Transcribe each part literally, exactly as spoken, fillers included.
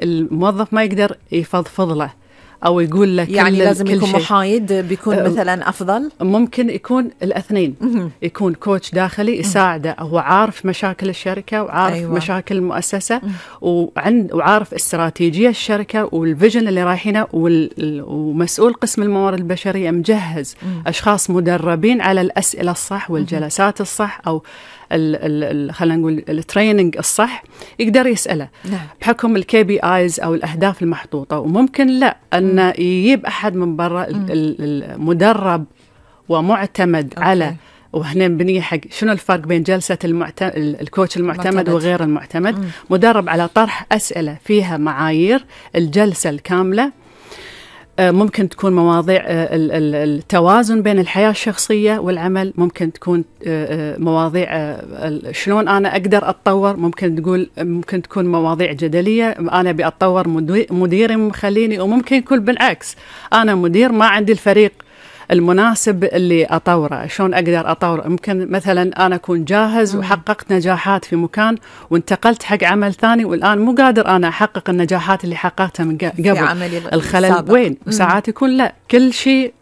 الموظف ما يقدر يفضفض له أو يقول لك يعني لازم يكون شيء. محايد، بيكون أه مثلا أفضل. ممكن يكون الاثنين، يكون كوتش داخلي يساعده، هو عارف مشاكل الشركة وعارف أيوة. مشاكل المؤسسة وعند وعارف استراتيجية الشركة والفيجن اللي رايحينه، ومسؤول قسم الموارد البشرية مجهز مم. أشخاص مدربين على الأسئلة الصح والجلسات الصح أو خلينا نقول التريننج الصح يقدر يسأله نعم. بحكم الكي بي آيز أو الأهداف المحطوطة. وممكن لا أن يجيب أحد من برا المدرب ومعتمد أوكي. على وهنا بنية حق شنو الفرق بين جلسة المعتمد الكوتش المعتمد معتمد. وغير المعتمد مم. مدرب على طرح أسئلة فيها معايير الجلسة الكاملة. ممكن تكون مواضيع التوازن بين الحياة الشخصية والعمل، ممكن تكون مواضيع شلون أنا أقدر أتطور، ممكن تقول ممكن تكون مواضيع جدلية أنا بأتطور مديري مخليني، وممكن يكون بالعكس أنا مدير ما عندي الفريق المناسب اللي أطوره، شلون أقدر أطور. ممكن مثلا أنا أكون جاهز وحققت نجاحات في مكان وانتقلت حق عمل ثاني والآن مو قادر أنا أحقق النجاحات اللي حققتها من قبل، الخلل السابق. وين؟ وساعات يكون لا كل شيء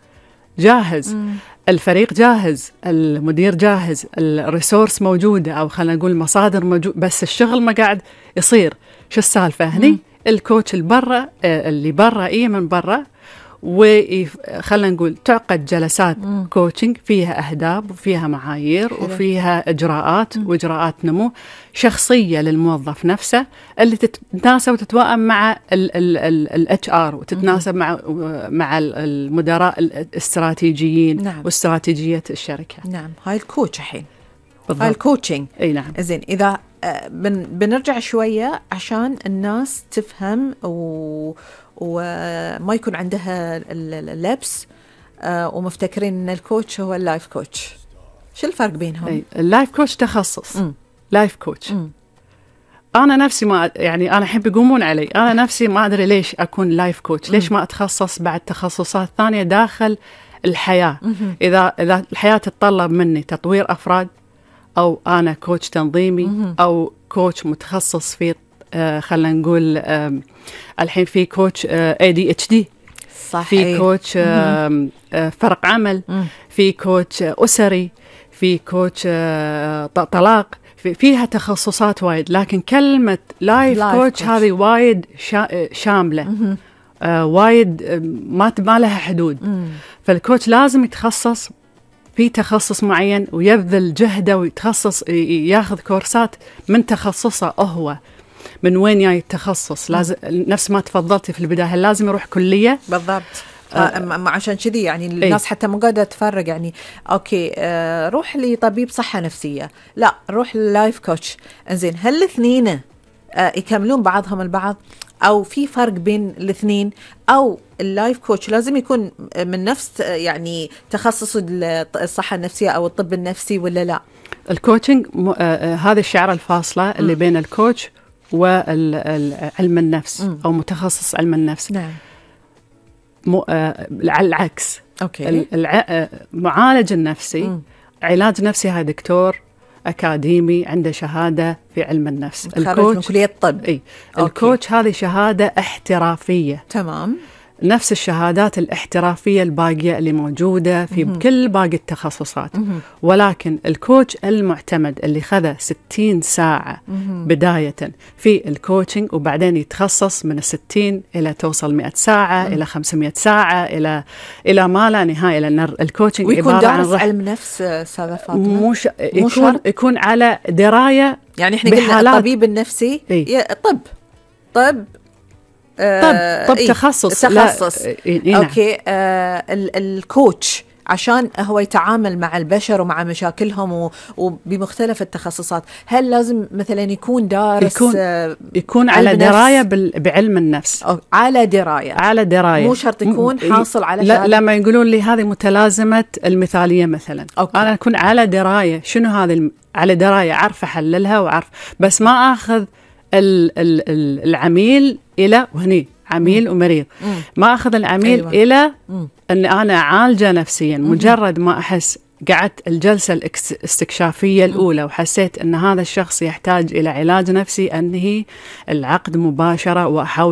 جاهز مم. الفريق جاهز، المدير جاهز، الريسورس موجودة أو خلينا نقول مصادر موجود، بس الشغل ما قاعد يصير. شو السالفة هني؟ مم. الكوتش البرة اللي برا إيه من برا، وخلنا نقول تعقد جلسات مم. كوتشنج فيها أهداف وفيها معايير حلو. وفيها إجراءات مم. وإجراءات نمو شخصية للموظف نفسه اللي تتناسب وتتوائم مع ال إتش آر وتتناسب مم. مع مع المدراء الاستراتيجيين نعم. واستراتيجية الشركة. نعم، هاي الكوتش الحين، هاي الكوتشنج. أي نعم. زين، إذا بن بنرجع شوية عشان الناس تفهم و وما يكون عندها اللبس ومفتكرين ان الكوتش هو اللايف كوتش. شو الفرق بينهم؟ اللايف كوتش تخصص م. لايف كوتش م. انا نفسي ما يعني انا احب يقومون علي، انا نفسي ما ادري ليش اكون لايف كوتش، ليش ما اتخصص بعد تخصصات ثانية داخل الحياة. م. اذا اذا الحياة تتطلب مني تطوير افراد، او انا كوتش تنظيمي م. او كوتش متخصص في آه خلينا نقول آه الحين في كوتش آه إيه دي إتش دي، صحيح. في كوتش آه آه فرق عمل، مم. في كوتش آه أسري، في كوتش آه طلاق، في فيها تخصصات وايد. لكن كلمة لايف كوتش هذه وايد شا شاملة آه وايد آه ما ما لها حدود. مم. فالكوتش لازم يتخصص في تخصص معين ويبذل جهده ويتخصص ياخذ كورسات من تخصصه هو. من وين جاي التخصص؟ لازم نفس ما تفضلتي في البداية، هل لازم يروح كلية؟ بالضبط. آه عشان كذي يعني الناس حتى مو قادرة تفرق، يعني أوكي آه روح لطبيب صحة نفسية، لا روح للايف كوتش. إنزين، هل الاثنين آه يكملون بعضهم البعض أو في فرق بين الاثنين؟ أو اللايف كوتش لازم يكون من نفس يعني تخصص الصحة النفسية أو الطب النفسي ولا لا؟ الكوتشنج آه هذه الشعرة الفاصلة اللي م. بين الكوتش وعلم النفس م. أو متخصص علم النفس. نعم. مو آه العكس. أوكي. المعالج النفسي م. علاج نفسي هاي دكتور أكاديمي عنده شهادة في علم النفس. الكوتش من كلية الطب. إيه. الكوتش هذه شهادة احترافية. تمام. نفس الشهادات الاحترافية الباقية اللي موجودة في مم. كل باقي التخصصات. مم. ولكن الكوتش المعتمد اللي خذ ستين ساعة مم. بداية في الكوتشنج وبعدين يتخصص من الستين إلى توصل مئة ساعة مم. إلى خمسمئة ساعة إلى إلى ما لا نهاية، لأن الكوتشنج ويكون دارس علم نفس سادة فاطمة. مش يكون يكون على دراية، يعني إحنا قلنا الطبيب النفسي إيه؟ طب طب طب طب إيه؟ تخصص تخصص إيه؟ أوكي. آه الكوتش عشان هو يتعامل مع البشر ومع مشاكلهم وبمختلف التخصصات، هل لازم مثلا يكون دارس يكون, آه يكون على دراية بعلم النفس؟ أو على دراية على دراية، مو شرط يكون حاصل على لا. لما يقولون لي هذه متلازمة المثالية مثلا، أوكي. أنا أكون على دراية شنو هذه الم... على دراية عارف أحللها وعارف، بس ما أخذ ال ال ال العميل إلى وهني عميل مم. ومريض مم. ما أخذ العميل أيوة. إلى مم. أن أنا عالجة نفسيا. مم. مجرد ما أحس قعدت الجلسة الاستكشافية الأولى وحسيت أن هذا الشخص يحتاج إلى علاج نفسي، أنهي العقد مباشرة وأحاول